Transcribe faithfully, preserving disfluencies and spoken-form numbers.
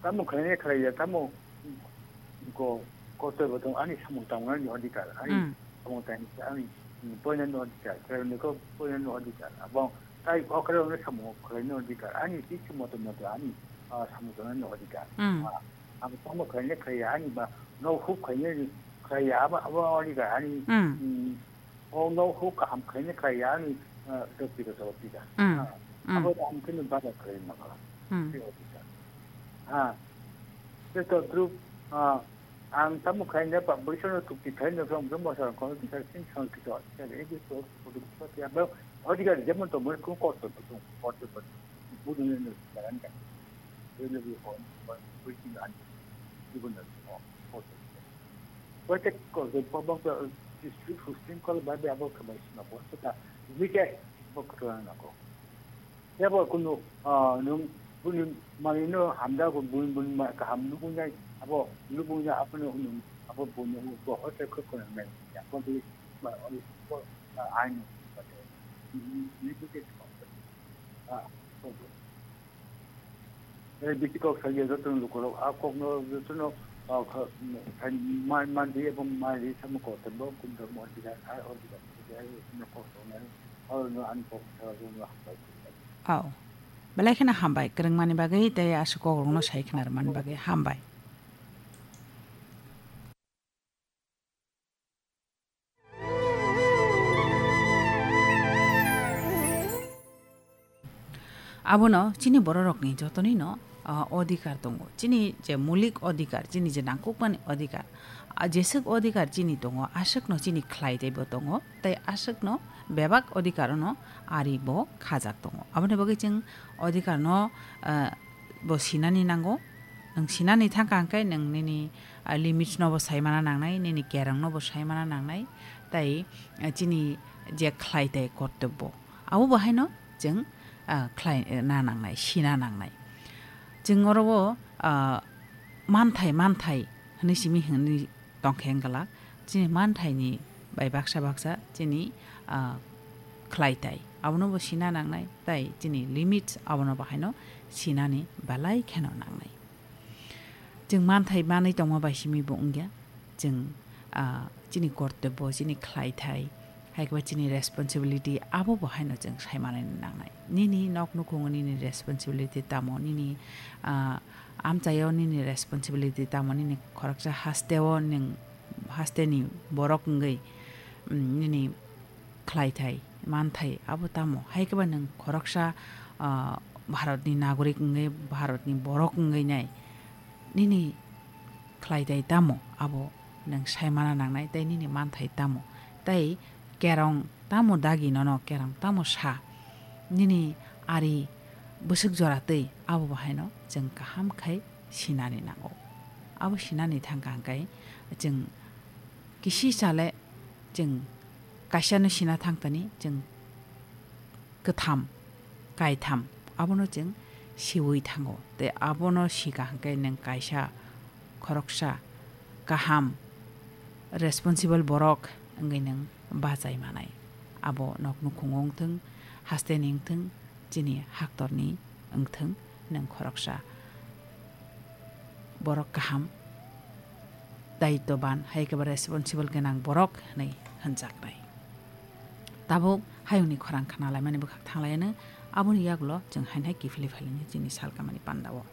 Tamo khlainai khlaiya, tamo ko, kotor bo tong ani samung tangnani odhikar, ani Mm. samung tang ani, mm, poinani odhikar, khlainai ko poinani odhikar. Abo tai okre okre samung khlainani odhikar, ani tisi moto moto ani, ah, samung tangnani odhikar. Mm. Ah, ang tamo khlainai khlaiya, ani ba no huk khlainai khlaiya, abo, abo odhikar, ani, Mm. mm, O no huk kaham khaini khai ya ani, ah, dopika dopika. Mm, Ah, mm. Abo ang kini bada khai na kala. Mm. Tei officer. Ah. Tei to group, ah, ang tamo khai na pa, bwsano tukti khai na from, from bwsano kono bisa sin san kito. Tei egi to, to, to, to, ya ba, odhikar jemon to mo ko kosto to, kosto to. Budu ne ne jagan ka. Budu ne ko, budu ne an. Budu ne ko, kosto. Koite ko, ko, ko, ko, district hosting call ba de abo khamai sina bo, ta, weekend bo kotona na ko. Ya bo kunu, ah, nung, buni mani no hamda ko, buni, buni ma, kaham nukung nai, abo, nukung nai, abo no, nung, abo buni, ko, hote ko, ko, nai, ya, ko, buni, ma, ko, ah, ai no, ko, ni, ni, ni, ko, ah, ko, ko. Eh, bisi kok saja joto no lukurok, a kok no joto no, ah, kha-, khai man, man di, abo man di, samo kok tebo, kum tebo, mo di, ah, o di, ah, no kok tebo, o no an kok tebo, no hambai. Aw. Belai kheno hambai, kwrwngmani bagwi tei aswk kokrokno sai khna rwmani bagwi hambai. Abono chini bororokni jotonino, ah, odhikar tongo. Chini je mulik odhikar, chini je nangkukmani odhikar, ah, jeswk odhikar chini tongo, aswkno chini khlai teibo tongo, tei aswkno bebak odhikarono aribo khajak tongo. Aboni bagwi chwng odhikarno, ah, bo sinani nango. Nwng sinani thangkha hwnkhe nwng nini, ah, limits no bo saimana nangnai, nini kerong no bo saimana nangnai, tei, ah, chini je khlai tei kortobbo, abo bo haino chwng, ah, khlai, eh, na nangnai, sina nangnai. Chwng oro o, ah, manthai, manthai hwnwi simi hwnwi tongkhe wngkha, chini manthaini bai baksa baksa chini, ah, khlai tai. Abono bo sina nangnai, tai chini limits abono bo haino sinani belai kheno nangnai. Chwng manthai manwi tongma bai simi bo wngya. Chwng, ah, chini kortobbo, chini khlai thai, hai khe ba chini responsibility abo bo haino chwng sai manwi nangnai. Nini nok nukhungo nini responsibility tamo, nini, ah, amchaio nini responsibility tamo, nini khoroksa hasteo nwng, hasteni borok wngwi, mm, nini khlai thai, man thai, abo tamo? Hai khe ba nwng khoroksa, ah, Bharatni nagorik wngwi, Bharatni borok wngwi nai, nini khlai thai tamo? Abo nwng sai mana nangnai, tei nini man thai tamo? Tei kerong tamo dagi nono, kerong tamo sa? Nini ari bwswk jora twi, abo bo haino chwng kaham khai sinani nango. Abo sinani thangkha hwnkhe chwng kisi sale chwng kaisano sina thangtani, chwng kwtham, kaitham, abono chwng siwi thango. Tei abono sika hwnkhe nwng kaisa khoroksa kaham, responsible borok wngwi nwng bachai manai. Abo nok nukhungo wngthwng, hasteni wngthwng, chini haktorni wngthwng, nwng khoroksa borok kaham, daitwban, hai khe ba responsible gwnang borok hwnwi hwnjaknai. Tabuk hayungni khorang khna laimani bwkhak thang lai anw, aboni yagulo chwng haino hai kiphilwi phai lainai chini salkamani pandao.